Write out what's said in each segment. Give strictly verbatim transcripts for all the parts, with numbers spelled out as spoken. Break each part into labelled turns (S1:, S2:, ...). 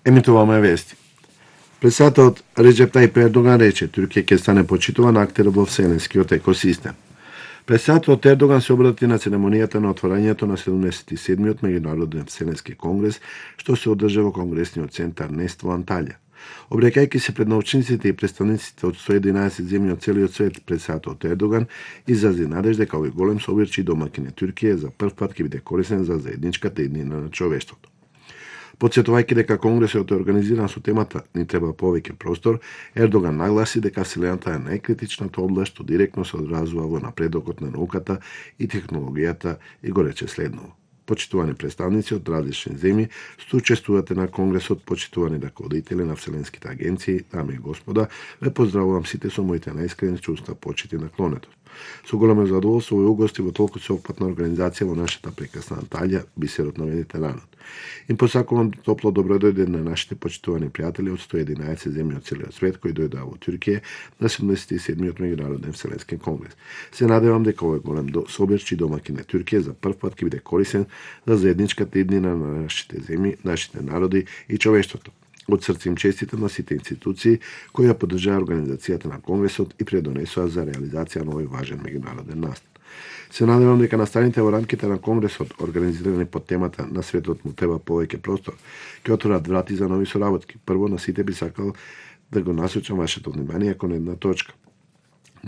S1: Емитуваме вести. Председателот Реджеп Тајип Ердоган рече Туркија ќе стане почитуван актер во вселенскиот екосистем. Председателот Ердоган се обрати на церемонијата на отворањето на седумдесет и седмиот меѓународен вселенски конгрес, што се одржа во Конгресниот центар Нест во Анталија. Обрекајќи се пред научниците и представниците од сто и единаесет земји од целиот свет, председателот Ердоган изрази надеж дека овој голем собирчи домаќин Туркија за прв пат ќе биде корисен за заедничката иднина на човештвото. Потсетувајќи дека конгресот е организиран со темата "Ни треба повеќе простор", Ердоган нагласи дека вселената е најкритичната област што директно се одразува во напредокот на науката и технологијата и го рече следново. Почитувани представници од различни земји што учествувате на конгресот, почитувани раководители на вселенските агенции, дами и господа, ве поздравувам сите со моите најискрени чувства, почит и наклонетост. Со големо задоволство во угости во толку сеопфатна организација во нашата прекрасна Анталија, бисерот на Медитеранот. Им посакувам топло добродојде на нашите почитувани пријатели од сто и единаесет земји од целиот свет кои дојдоа во Туркија на седумдесет и седмиот меѓународен вселенски конгрес. Се надевам дека овој голем собирчи домаќин на Туркија за прв пат ќе биде корисен за заедничката иднина на нашите земји, нашите народи и човештвото. Од срце им честитам на сите институции кои ја поддржаа организацијата на конгресот и предонесоа за реализација на овој важен меѓународен настан. Се надевам дека настаните во рамките на конгресот, организирани под темата "На светот му треба повеќе простор", ќе отворат врати за нови соработки. Прво на сите би сакал да го насочам вашето внимание кон една точка.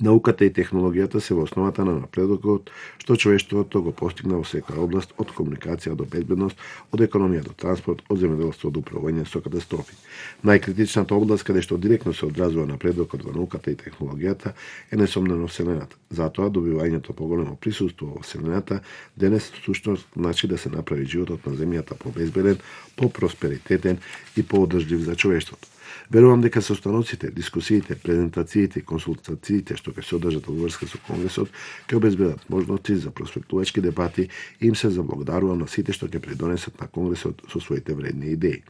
S1: Науката и технологијата се во основата на напредокот што човештвото го постигна во секоја област, од комуникација до безбедност, од економија до транспорт, од земјоделство до управување со катастрофи. Најкритичната област каде што директно се одразува напредокот во науката и технологијата е несомнено вселената. Затоа добивањето поголемо присуство во вселената денес всушност значи да се направи животот на земјата побезбеден, попросперитетен и поодржлив за човештвото. Верувам дека состаноците, дискусиите, презентациите и консултациите што ќе се одржат во врска со конгресот ќе обезбедат можности за просветлувачки дебати и им се заблагодарувам на сите што ќе придонесат на конгресот со своите вредни идеи.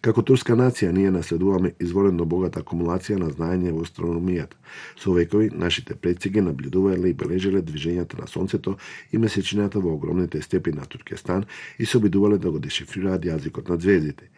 S1: Како турска нација ние наследуваме изворено богата акумулација на знаење во астрономијата. Со векови нашите предци ги наблюдувале и бележеле движењата на сонцето и месечината во огромните степи на Туркестан и се обидувале да го дешифрираат јазикот на звездите.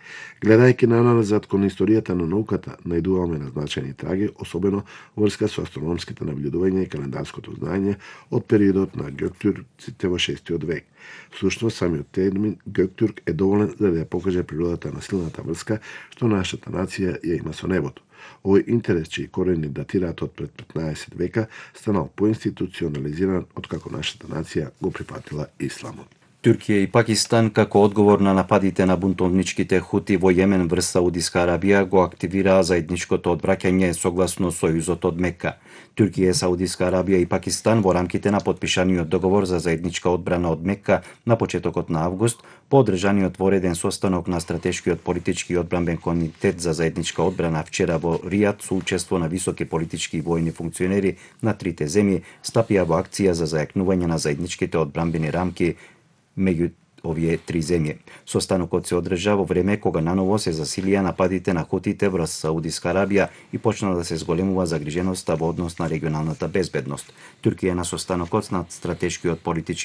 S1: Гледајќи наназад кон историјата на науката, најдуваме назначени траги, особено врска со астрономските наблюдувања и календарското знаење од периодот на Гёктурците во шестиот век. Всушност, самиот термин Гёктурк е доволен за да ја покаже природата на силната врска што нашата нација ја има со небото. Овој интерес, чии корени датираат од пред петнаесет века, станал поинституционализиран откако нашата нација го прифатила исламот.
S2: Туркија и Пакистан, како одговор на нападите на бунтовничките хути во Јемен врз Саудиска Арабија, го активираа заедничкото одбраќање согласно сојузот од Мека. Туркија, Саудиска Арабија и Пакистан во рамките на потпишаниот договор за заедничка одбрана од Мека на почетокот на август, по одржаниот вореден состанок на стратешкиот политички и одбранбен комитет за заедничка одбрана вчера во Ријад со учество на високи политички и војни функционери на трите земји, стапија во акција за зајакнување на заедничките одбранбени рамки меѓу овие три земји. Состанокот се одржа во време кога наново се засилија нападите на хутите врз Саудиска Арабија и почна да се зголемува загриженоста во однос на регионалната безбедност. Туркија на состанокот на стратешкиот политички